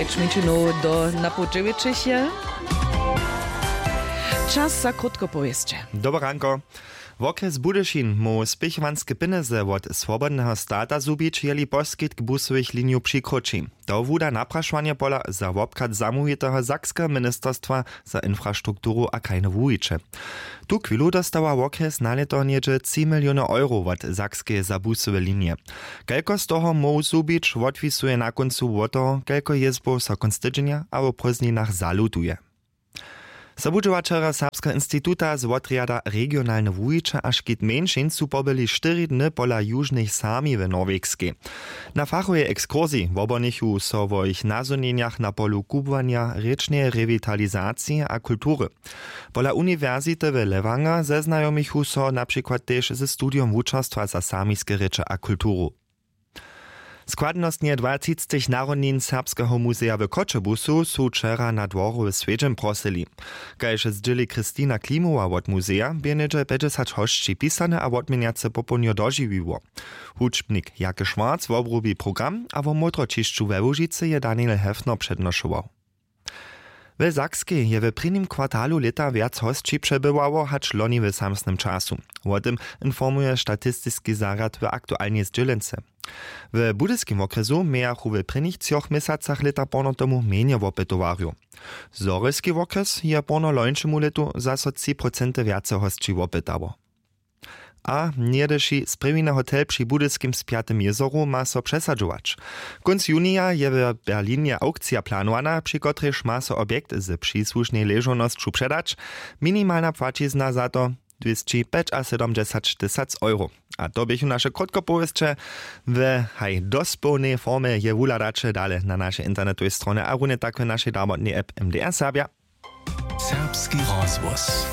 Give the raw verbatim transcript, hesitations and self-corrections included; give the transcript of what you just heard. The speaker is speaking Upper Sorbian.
Čminčinow do napoł dźewjećich je. Čas za krótko powěsće. Dobre ranko. Wokrjes Budyšin móhł spěchowanske pjenjezy wot swobodneho stata zhubić, jeli poskitk busowych linijow přikroći. To wuda naprašowanje pola za wobchad zamołwiteho sakskeho ministerstwa za infrastrukturu a krajne wuwiće. Tu chwilu dostała wokrjes na lěto něhdźe tři miliony euro wot sakskeje za busowe linije. Kelko z toho móhł zhubić, wotwisuje na kóncu wot toho, kelko jězbow so kónc tydźenja abo w prózdninach zalutuje. Sobudźěłaćerjo Serbskeho instituta z wotrjada regionalne wuwiće a škit mjeńšin su pobyli štyri dny pola južnych sami w norwegskej. Na fachowej ekskursiji wobhonichu so wo jich nazhonjenjach na polu kubłanja, rěčneje rewitalizacije a kultury. Pola uniwersity w Lewanger zeznajomichu so na přikład tež ze studijom wučerstwa za samiske rěče a kulturu. Składnostnje dwatřictych narodnin Serbskeho muzeja w Choćebuzu su wčera na dworju w swjedźeń prosyli. Kaž zdźěli Christina Klimowa wot muzeja, bě něhdźe pjećdźesać hosći pisane a wotměnjace popołdnjo dožiwiło. Hudźbnik Jake Schwarz wobrubi program a wo módroćišću we Łužicy je Daniel Hefner přednošował. W Sakskej je w prěnim kwartalu lěta wjac hosći přebywało hač loni w samsnym času. Wo tym informuje statistiski zarjad w aktualnej zdźělence. W budyskim wokrjesu mějachu w prěnich třoch měsacach lěta porno tomu mjenje wopytowarjow. Zhorjelski wokrjes je porno lońšemu lětu zaso tři procenty wjace hosći wopytało. A něhdyši sprěwiny hotel při budyskim Spjatym jězoru ma so přesadźować. Kónc junija je w Berlinje aukcija planowana, při kotrejž ma so objekt ze přisłušnej ležownosću předać. Minimalna płaćizna za to dwěsći pjećasydomdźesać tysac euro. A to běchu naše krótkopowěsće. W haj dospołnej formje je wuhladaće dale na našej internetowej stronje a runje tak w našej darbotnej app M D R Serbja. Serbski rozhłos.